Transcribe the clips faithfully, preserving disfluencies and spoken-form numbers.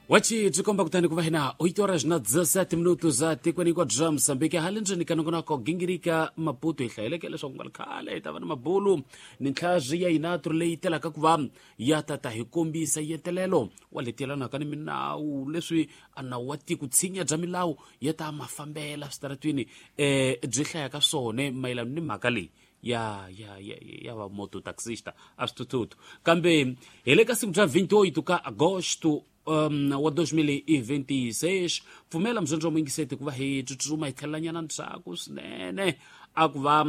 Wachi byi komba kutani ku va hina oito horas na dezessete minutos za tikweni hinkwabyo bya Mozambique. Hale ndzeni ka nongonoko gingirika Maputo hi hlayeleke leswaku nga ri khale hi ta va na mabulu ni ntlhazi ya inatru leyi telaka ku va ya tata hi kombisa yentelelo wa leti yelanaka ni minawu leswi a nawu wa tiko tshinya bya milawu ya ta mafambela switaratwini um byi hlayaka swone mayelana ni mhaka leyi ya ya ya ya va mototaxista a swithuthuthu. Kambe hi le ka siku bya vinte e oito ka agosto um, wa dois mil e vinte e seis, pfumela muzondzi wa muyingiseti ku va hi tsutsuma hi tlhelelanyana ndzhaku swinene a ku va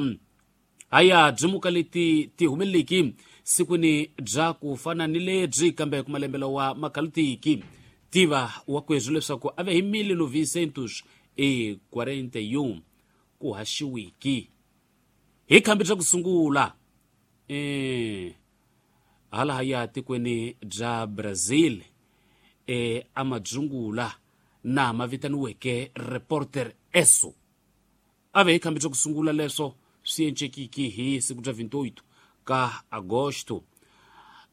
haya byimuka leti ti humeleleki sikwini bya ku fana ni lebyi kambe ku malembe lawa makhalutiki tiva wa kwezwi leswaku a ve hi mil novecentos e quarenta e um ku haxiwiki hi khambi bya ku sungula eh hala haya tikweni bya Brazil e amadzungula na ma vitaniweke Reporter Esso. A ve hi khambi bya ku sungula leswo swi encekiki hi siku bya vinte e oito ka agosto.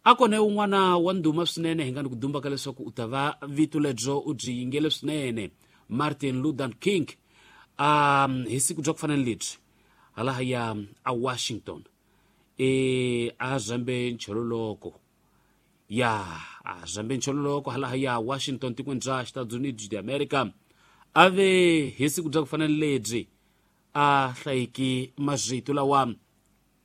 A kona un'wana wa ndhuma swinene hi nga ni ku dumba ka leswaku u ta va vito lebyo u byi yingele swinene, Martin Luther King, um hi siku bya ku fana ni lebyi hala haya a Washington e a zambe nchololoko ya a zambe nchololoko hala haya Washington tikweni bya Estados Unidos de America. A ve hi siku bya ku fana ni lebyi a hlayiki mazito lawa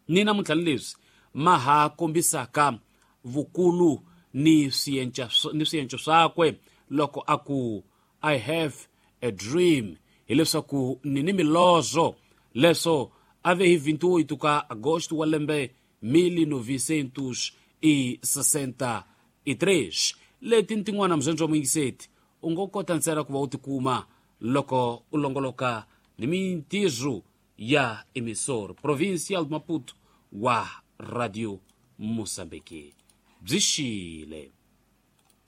ni namuntlha leswi ma ha kombisaka vukulu ni swienca ni swienco swakwe loko a ku I have a dream, hileswaku ni ni milozo. Leswo a ve hi vinte e oito ka agosto wa lembe mil novecentos e sessenta e três. Leti tin'wana muzondzi wa muyingiseti u ngo kota ntsena ku va u tikuma loko u longoloka ni mintirho ya emissor provincial de Maputo wa Radio Moçambique. Byi xile.